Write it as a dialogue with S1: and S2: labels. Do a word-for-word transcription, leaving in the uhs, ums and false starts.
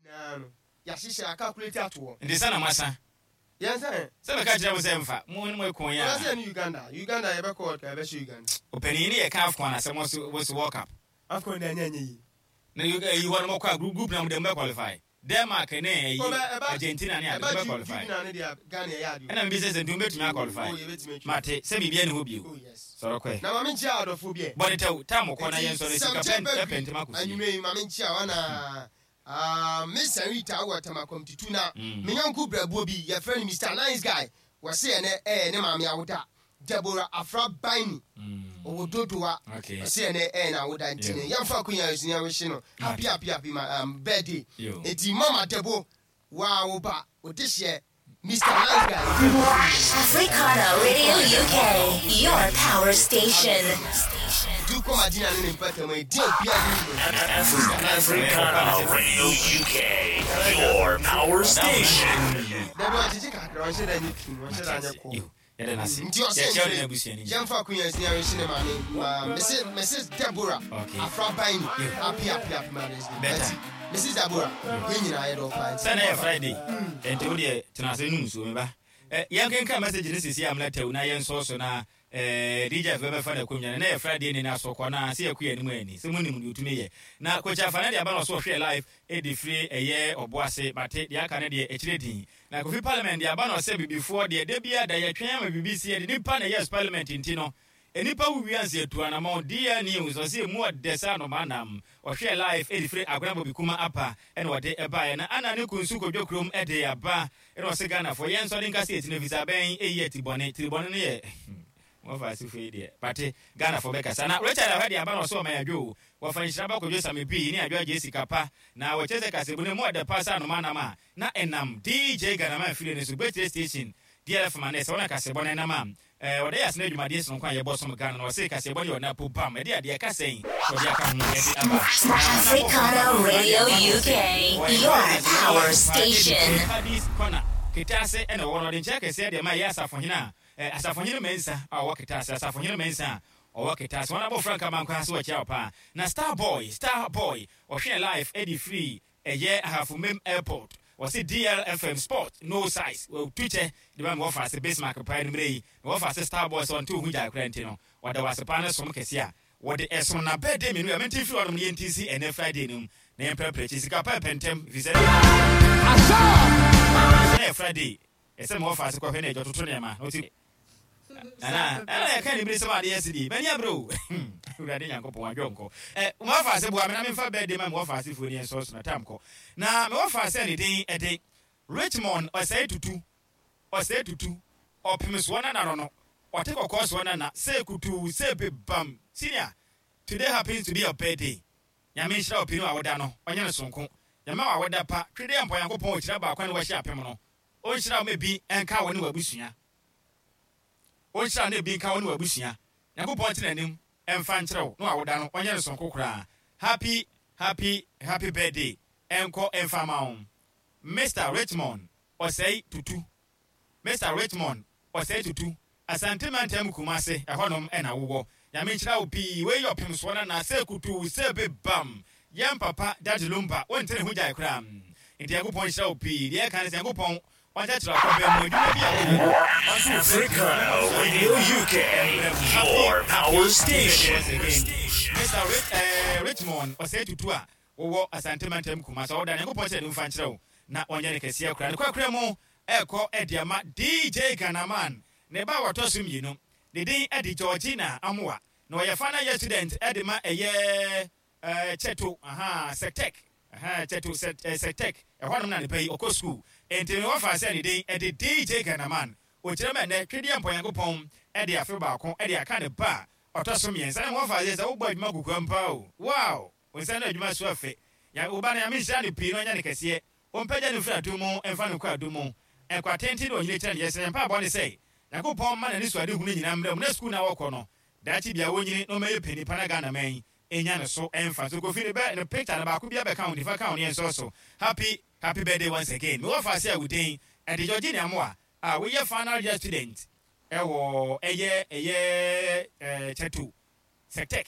S1: Nyinaa no yɛahyehyɛ acalculate ato hɔ.
S2: Nti sɛ na moasa.
S1: Yɛn sɛ.
S2: Sɛ meka kyerɛ mo sɛ mfa mo ne mo ɛko yɛ
S1: a. Ɔna sɛ ne Uganda, Uganda yɛbɛkɔ World Cup, yɛbɛhyɛ Uganda.
S2: Ɔpanin ne yɛka AFCON na sɛ mo so mo so World Cup.
S1: AFCON deɛ anyɛ anyɛ yie.
S2: Na ɛyi hɔ no mokɔ a group group na mo deɛ mobɛ qualify. Denmark ne ɛyi Argentina ne ade mobɛ qualify. Ɛna mebisa sɛ nti mobɛtumi a qualify. Mate sɛ biribiara nni hɔ bio. Sɔre kɔɛ.
S1: Na ma menkyia adɔfoɔ bi ɛ.
S2: Bɔ ne tɛw, tam kɔ na yɛnsɔre sika pɛ pɛ ntɛm akɔ fie.
S1: Anwummerɛ yi ma menkyia wo anaa? Ah, Miss Anita wɔ Tema Committee na me yɔnko brɛboɔ bi yɛfrɛ no Mister Nice Guy, wɔse ɛnɛ ɛyɛ ne maame awoda, Deborah Afra Baini, ɔwɔ Dodowa, ɔse ɛnɛ ɛyɛ n'awoda nti no yɛmfa akonya yi so na yɛnwehye no happy happy happy ma um, birthday. Nti Mama Debo, waa wo ba, wo dehyeɛ Mister Nice Guy.
S3: Africana Radio U K, your power station.
S1: Nti wokɔ Madina ne ne mpɔtam a, ɛdin a obiara de nim no.
S4: Africana Radio U K, your power station.
S1: Dabi, ɔgyegye kakra, ɔnhyɛ da nyɛ pii, ɔnhyɛ da nyɛ kɔɔ.
S2: Yɛda no ase.
S1: Nti ɔsɛ
S2: Yɛkyerɛ wo ne n'abusua no nyinaa.
S1: Yɛmfa akonya yi so na yɛnhye ne maame ma Mrs Mrs Deborah
S2: Okay.
S1: Afra Baini, happy happy happy Mother's Day.
S2: Better.
S1: Nti Missus Deborah, yɛn nyinaa yɛdɔ wo paa nti.
S2: Sɛ na yɛ Friday, nti wo deɛ tena ase nom nsuo me ba. Eh, yɛnkenkan message no sisi amena tɛw na yɛnsɔɔ so na eh, D J bɛbɛfa no akonnwa no na yɛ Friday ne no asɔ kɔ na sɛ yɛkɔ yɛn anim ani sɛ monim deɛ ɔtumi yɛ na Coach Afa no de aba na ɔso ɔhwɛ live ɛde firi ɛyɛ ɔbo ase. Mate deɛ aka no deɛ akyire din na Kofi Parliament de aba na ɔsɛ bibifoɔ deɛ da biara da yɛtwɛn ama biribi si yɛde nipa na ɛyɛ parliament nti no nnipa wo wianse atu anamɔn. D L News ɔsɛ emu ɔdɛ sɛ anoma nam ɔhwɛ live ɛde firi Agona Bɔbi Kuma apa ɛna ɔde ɛbaeɛ na ana ne kunsu Kodwo kurom ɛde aba ɛna ɔsɛ Ghanafoɔ yɛn nso de nka sɛ yɛtena fisa bɛn ɛyi ati bɔne tiri bɔne no yɛ wɔfa asefo yi deɛ pate Ghanafoɔ bɛkasa na Richard Ahwɛ de aba na ɔsɛ ɔman adwo wɔfa nhyira ba Kodwo Same pii ne adwo agye sika pa na wɔkyerɛ sɛ kasebu no mu ɔdɛ pa sɛ anoma nam a na ɛnam D J Ghanaman afiri no so Gbɛtire Station D L F ma ne sɛ wɔna kasebɔ no ɛnam a ɔde yɛ asena adwumadeɛ sononko a yɛbɔ som Ghana na ɔse kaseɛbɔ no yɛ ɔna po bam ɛde adeɛ ka sɛn ɔde aka ho ɛde aba.
S3: Africana Radio U K, your power station.
S2: Paddy's Corner Ketaase ɛna ɔwɔ no ɔde nkyɛn kɛseɛ deɛ ma ɛyɛ asafohene a asafohene Mɛnsa a ɔwɔ Ketaase, asafohene Mɛnsa a ɔwɔ Ketaase wɔn abɔfra nkama nkwa so wɔkyia wɔ paa na Star Boy, Star Boy ɔhwɛ live ɛde firi ɛyɛ Ahafomem Airport. Wɔsi D L F M sport no size wɔtu kyɛ de ba mi wɔfa ase Bismarck paa numere yi na wɔfa ase Star Boy sɛ ɔnte ohun gya akora nti no wɔda wɔ ase paa ne som kɛse a wɔde ɛsom na birthday mmienu a mɛnti firi hɔnom ne yɛnti si ɛnɛ Friday no mu na yɛn pɛrɛpɛrɛ akyi sika pɛɛ pɛntɛm fi sɛ ɛnɛ yɛ Friday ɛsɛ mi wɔfa ase kɔhwɛ na ɛdwa toto nneɛma na ɔti nana ɛna yɛka ne bere sɛm adeɛ si di mani abere o. Awurade Nyankopɔn adwɔ nkɔ ɛ wɔfa ase boa me na memfa birthday ma me wɔfa ase fuo ne yɛn sɔɔ so na tam kɔ na me wɔfa ase ne din ɛde Richmond Ɔsɛe Tutu, Ɔsɛe Tutu ɔpem soɔ nana no no ɔte kɔkɔɔ soɔ nana sɛ kutuu sɛ bebam. Senior, today happens to be your birthday. Nyame nhyira wo pii no a woda no ɔnyɛ no sonko. Nyame wa woda pa twede mpɔ Nyankopɔn ɔkyira baako ne wɔhyɛ apem no ɔnhyira wo ma bi ɛnka wo ne w'abusua, ɔnhyira wo na ebi nka wo ne w'abusua. Nyankopɔn te n'anim ɛmfa nkyerɛ wo na wawoda no ɔnyɛ no sonko koraa. Happy happy happy birthday ɛnkɔ ɛmfa ma wo, Mister Richmond Ɔsɛe Tutu, Mister Richmond Ɔsɛe Tutu, Asante Mantam Kumase ɛhɔnom ɛna wowɔ. Nyame nhyira wo pii. Wei yɛ ɔpem soɔ nana sɛ kutuu sɛ bebam yɛn papa Daddy Lumba wonte ne ho gyae koraa nti Nyankopɔn nhyira wo pii. Deɛ ɛka ne sɛ Nyankopɔn ɔnkyerɛkyerɛ akɔbɛn mu adwuma bi a woyɛ no.
S4: Africana Radio U K, your power station.
S2: Mister Rich, eh, Richmond Ɔsɛe Tutu a wowɔ Asante Mantam Kumase ɔwoda Nyankopɔn kyerɛ ne mfa nkyerɛ wo na ɔnyɛ ne kɛseɛ koraa ne kwakora mu ɛkɔ ɛde ama D J Ghanaman ne ba a wɔtɔ so mmienu ne din ɛde Georgina Amoa na ɔyɛ final year student ɛde ma ɛyɛ ɛɛ Kyɛto aha Sectec aha Kyɛto Sectec ɛhɔnom na nipa yi ɔkɔ school nti ne wɔfa sɛ ne din ɛde D J Ghanaman okyerɛ mɛ nɛ twedeɛ mpɔnyankopɔn ɛde afe baako ɛde aka ne ba a ɔtɔ so mmiɛnsa ne wɔfa sɛ sɛ wobɔ adwuma kukua mpa o wow nsa no adwuma so afɛ ya wo ba no. Nyame nhyira no pii na ɔnyɛ ne kɛseɛ, ɔmpagya no mfiri adom mu ɛmfa no nkɔ adom mu ɛkɔ atenten ne ɔnyini kyerɛ ne yɛsrɛ mpa bɔ ne sɛ Nyankopɔn ma n'ani so ade hunu nyinaa mmerɛ mu na sukuu na wɔkɔ no daakye bia wɔnyini na ɔmɛyɛ pani pa na Ghana man ɛnya ne so ɛmfa so. Kofi ne bɛ ne picture no baako bi abɛka wo nifa ka wo ne yɛnsɔ so. Happy happy birthday once again. Mewɔ fa ase a wo din ɛde Georgina Amoa a woyɛ final year student ɛwɔ ɛyɛ ɛyɛ ɛɛ Kyɛto Sectec.